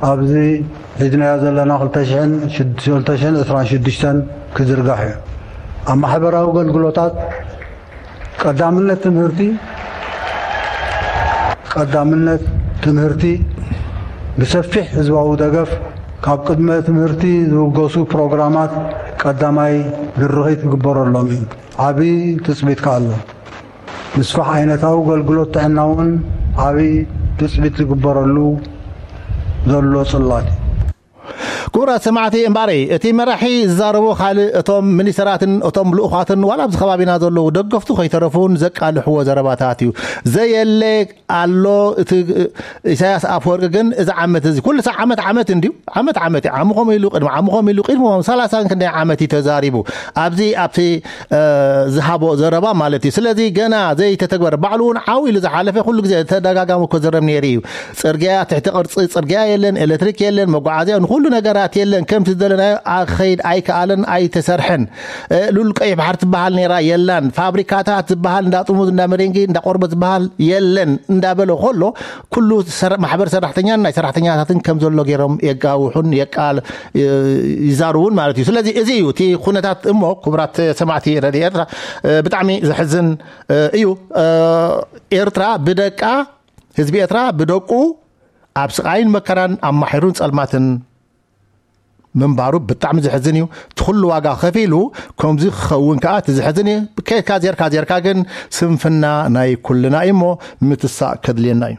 ኣብዚ ሒዝናዮ ዘለና ክልተ ሽሕን ዕስራን ሽዱሽተን ክዝርጋሕ እዩ። ኣብ ማሕበራዊ ኣገልግሎታት ቀዳምነት ትምህርቲ ቀዳምነት ትምህርቲ ብሰፊሕ ህዝባዊ ደገፍ ካብ ቅድመ ትምህርቲ ዝውገሱ ፕሮግራማት ቀዳማይ ድርኺት ክግበረሎም እዩ። ዓቢ ትጽቢት ከኣ ኣሎ። ምስፋሕ ዓይነታዊ ኣገልግሎት ጥዕና እውን ዓቢ ትጽቢት ዝግበረሉ ዘሎ ጽላት እዩ። ክቡራት ሰማዕቲ እምበኣረይ እቲ መራሒ ዝዛረቦ ካልእ እቶም ሚኒስተራትን እቶም ልኡኻትን ዋላ ኣብዚ ከባቢና ዘለዉ ደገፍቱ ከይተረፉን ዘቃልሕዎ ዘረባታት እዩ። ዘየለ ኣሎ እቲ ኢሳያስ ኣፈወርቂ ግን እዚ ዓመት እዚ ኩሉ ሳዕ ዓመት ዓመት እንድዩ። ዓመት ዓመት እዩ። ዓሚ ከምኡ ኢሉ ቅድሚ ዓሚ ከምኡ ኢሉ ቅድሚ ሰላሳን ክንደይ ዓመት እዩ ተዛሪቡ ኣብዚ ኣብቲ ዝሃቦ ዘረባ ማለት እዩ። ስለዚ ገና ዘይተተግበረ ባዕሉ እውን ዓው ኢሉ ዝሓለፈ ኩሉ ግዜ ተደጋጋሚ ክዝረብ ነይሩ እዩ። ፅርግያ ትሕቲ ቅርፂ ፅርግያ የለን፣ ኤሌክትሪክ የለን፣ መጓዓዝያ ንኩሉ ነገራት የለን። ከምቲ ዝደለናዮ ኣኸይድ ኣይከኣለን ኣይተሰርሐን። ሉል ቀይሕ ባሕር ትበሃል ነይራ የላን። ፋብሪካታት ዝበሃል እንዳ ጥሙዝ እንዳ መደንጊ እንዳ ቆርበት ዝበሃል የለን እንዳበለ ከሎ ኩሉ ማሕበር ሰራሕተኛን ናይ ሰራሕተኛታትን ከም ዘሎ ገይሮም የጋውሑን የቃል ይዛርቡን ማለት እዩ። ስለዚ እዚ እዩ እቲ ኩነታት እሞ ክቡራት ሰማዕቲ ረድዮ ኤርትራ ብጣዕሚ ዘሕዝን እዩ። ኤርትራ ብደቃ ህዝቢ ኤርትራ ብደቁ ኣብ ስቓይን መከራን ኣብ ማሕሩን ጸልማትን ምንባሩ ብጣዕሚ ዘሕዝን እዩ። እቲ ኩሉ ዋጋ ከፊሉ ከምዚ ክኸውን ከዓ እቲ ዘሕዝን እዩ። ከድካ ዜርካ ዜርካ ግን ስንፍና ናይ ኩልና እዩ እሞ ምትሳእ ከድልየና እዩ።